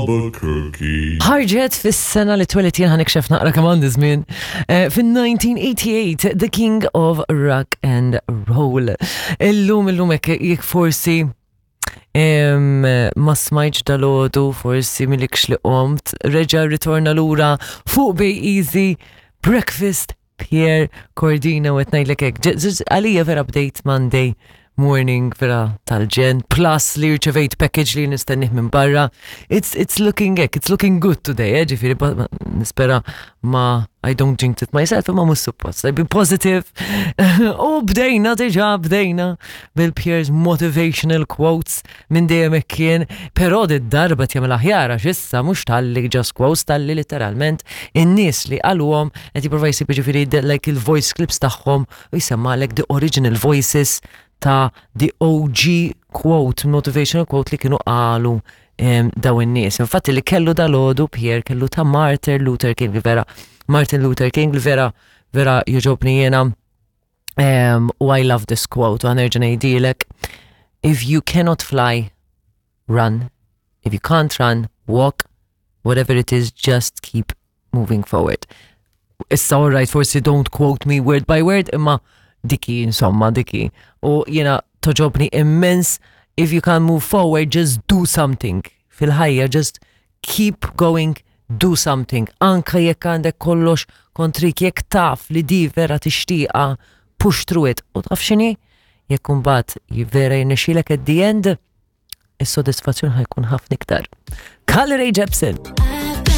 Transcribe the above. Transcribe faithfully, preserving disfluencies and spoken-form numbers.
Albuquerque. Ħarġet fis-sena li twelidt jien, ħa nikxef naqra kemm għandi żmien. Eh, Fin-elf disa' mija u tmienja u tmenin, The King of Rock and Roll. Illum illum hekk jekk forsi em, ma smajtx dalgħodu, forsi milikx li qomt, reġa ritorna lura fuq Bay Easy Breakfast Pierre Cordina u ngħidlek hekk. Ġ- ġ- Għalija vera bdejt Monday morning vera tal-ġenn, plus li rċevejt package li nistennih minn barra. It's, it's looking hekk, it's looking good today, eh, ġifieri, ba- ma- nispera ma I don't jinx it myself, ma mhux suppost. I've been positive. U bdejna diġà, bdejna bil-Pierre's motivational quotes minn dejjem hekk kien, però di darba jagħmel aħjar għax issa mhux talli just quotes, talli literalment in-nies li qaluhom qed jipprova jsib, ġifieri the- like il-voice clips tagħhom u jsemmalek the original voices ta' the O G quote, motivational quote li kienu qalu em, daw in-nies. Infatti li kellu dalgħodu Pierre kellu ta' Martin Luther King, li vera Martin Luther King li vera vera jogħġobni jiena. Um, u I love this quote, u ħa nerġa' ngħidilek: "If you cannot fly, run. If you can't run, walk. Whatever it is, just keep moving forward." Issa, all right, forsi don't quote me word by word, imma diki, insomma, diki. U jiena togħġobni immens, if you can't move forward, just do something. Fil-ħajja, just keep going, do something. Anka jekk għandek kollox kontrik, jekk taf li di vera tixtieqa, push through it. U taf x'inhi? Jekk imbagħad vera jirnexxilek at the end, is-sodisfazzjon ħa jkun ħafna iktar. Carly Rae Jepsen.